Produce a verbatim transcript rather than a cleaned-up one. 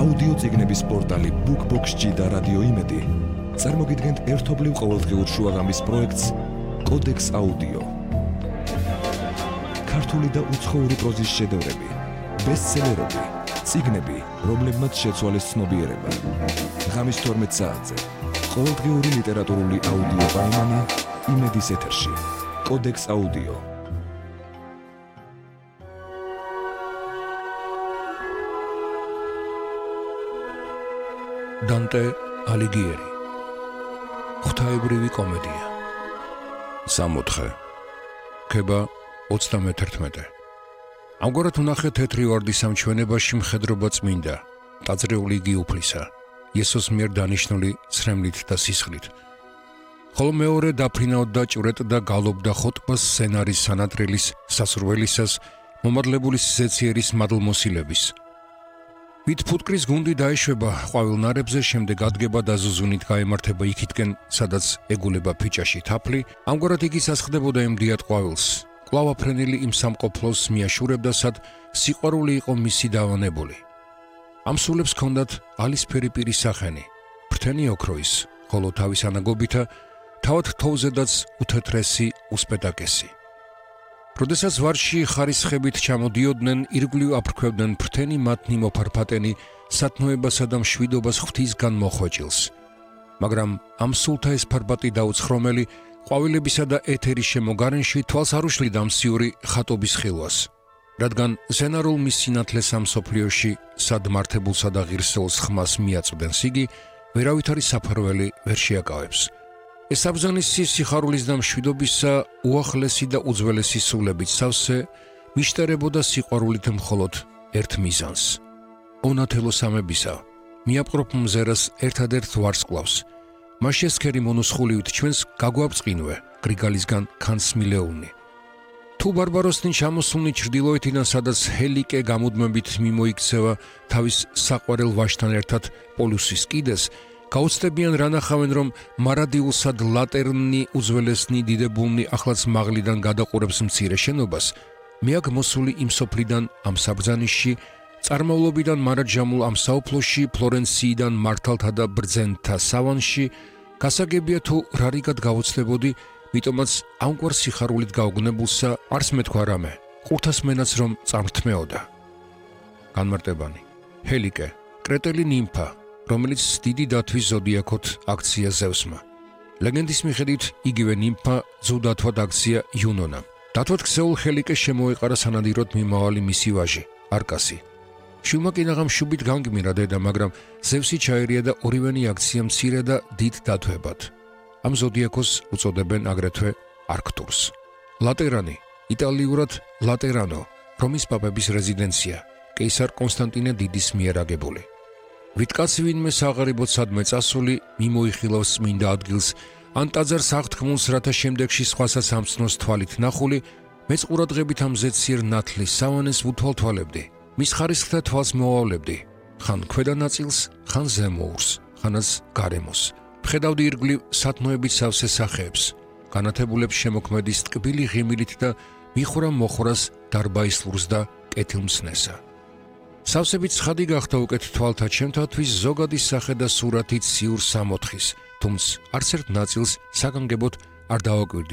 აუდიო წიგნების პორტალი BookBox-ი და რადიო იმედი წარმოგიდგენთ ერთობლივ ყოველდღიურ შუაღამის პროექტს კოდექს აუდიო. ქართული და უცხოური პროზის შედევრები, ბესტსელერები, წიგნები, რომლებმაც შეცვალეს ცნობიერება. ღამის თორმეტ საათზე ყოველდღიური ლიტერატურული აუდიო პაემანი იმედის ეთერში. კოდექს აუდიო. დანტე ალიგიერი. ღვთაებრივი კომედია. სამოთხე. ქება ოცდამეთერთმეტე. ამგვარად უნახეთ თეთრი ვარდის სამჩვენებაში მხედრობა წმინდა, ტაძრეული იგი უფლისა, იესოს მიერ დანიშნული ცრემლით და სისხლით. ხოლო მეორე დაფრინავდა ჭვრეტ და გალობდა ხოტბას სცენარის სანატრილის სასურველისას მომადლებული სიცეციერის მადლმოსილების. ვით ფუტკრის გუნდი დაეშვება ყვავილ ნარებზე, შემდეგ ადგება და ზუზუნით გაემართება იქითკენ, სადაც ეგულება ფიჭაში თაფლი, ამგვარად იგი სასხდებოდა იმ დიად ყვავილს. კვლავ აფრენილი იმ სამყოფლოს მიაშურებდა, სად სიყვარული იყო მისი დავანებული. ამ სულებს ჰქონდათ ალისფერი პირის სახენი, ფრთენი ოქროის, ხოლო თავის ანაგობითა თავად თოვლზედაც უთეთრესი უსპეტაკესი. როდესაც ვარში ხარისხებით ჩამოდიოდნენ, ირგვლივ აფრქვევდნენ ფრთენი მათნი მოფარფატენი სათნოებასა და მშვიდობას ღვთისგან მოხვეჭილს. მაგრამ ამ სულთა ეს ფარბატი დაუცხრომელი ყვავილებისა და ეთერის შემოგარენში თვალს არ უშლიდა მსიური ხატობის ხილვას, რადგან ზენარულ მის სინათლეს ამ სოფლიოში სად მართებულსა და ღირსეულს ხმას მიაწვდენს იგი, ვერავითარი საფარველი ვერ შეაკავებს. ეს აბზანისი სიხარულის და მშვიდობისა უახლესი და უძველესი სულებით სავსე მიშტერებოდა სიყვარულით მხოლოდ ერთ მიზანს. ონათელოსამებისა მიაპყრობ მზერას ერთადერთ ვარსკვლავს. მას შესქერი მონუსხულივით ჩვენს გაგვაბწყინვე გრიგალისგან ქანსმილეულნი. თუ ბარბაროსნი ჩამოსულნი ჩრდილოეთიდან, სადაც ჰელიკე გამუდმებით მიმოიქცევა თავის საყვარელ ვაჟთან ერთად პოლუსის კიდეს, გაუცდებიან რა ნახავენ, რომ მარადიულსად ლატერნი უძველესნი დიდებულნი ახლაც მაღლიდან გადაყურებს მცირე შენობას, მე აქ მოსული იმ სოფლიდან ამ საბრძანიშში, წარმავლობიდან მარადჟამულ ამ საუფლოში, ფლორენციიდან მართალთა და ბრძენთა სავანში, გასაგებია თუ რარიგად გავუცდებოდი, მიტომაც ამგვარ სიხარულით გაუგნებულსა არც მეთქვა რამე, ყურთას მენაც რომ წამრთმეოდა. განმარტებანი. ჰელიკე, კრეტელი ნიმფა, რომელიც დიდი დათვის ზოდიაქოთ აქცია ზევსმა. ლეგენდის მიხედვით იგივე ნიმფა ზუდათვად აქცია იუნონამ. დათვად ქსეულ ჰელიკეს შემოეყარა სანადიროდ მიმავალი მისი ვაჟი, არკასი. შვილმა კინაღამ შუბით განგმირა დედა, მაგრამ ზევსი ჩაერია და ორივენი აქცია მცირე და დიდ დათვებად. ამ ზოდიაქოს უწოდებენ აგრეთვე არქტურს. ლატერანი, იტალიურად ლატერანო, რომის პაპების რეზიდენცია, კეისარ კონსტანტინე დიდის მიერ აგებული. ვიტკაცი ვინმე საღარიბოდ სადმე წასული, მიმოიხილავს წმინდა ადგილს, ან ტაძარს აღთქმულს, რათა შემდეგში სხვასაც ამცნოს თვალით ნახული, მეც ყურადღებით ამ ზეციერ ნათლის სავანეს უთვალთვალებდი. მის ხარისხთა თვალს მოვავლებდი, ხან ქვედა ნაწილს, ხან ზემოურს, ხანაც გარემოს. ვხედავდი ირგვლივ სათნოებით სავსე სახეებს, განათებულებს შემოქმედის ტკბილი ღიმილით და მიხვრა მოხრას დარბაისლურს და კეთილმცნესა. სავსებით ცხადი გახდა უკეთ თვალთა ჩემთათვის ზოგადი სახე და სურათი ციურ სამოთხის, თუმცა არც ერთ ნაწილს საგანგებოდ არ დავაკვირდი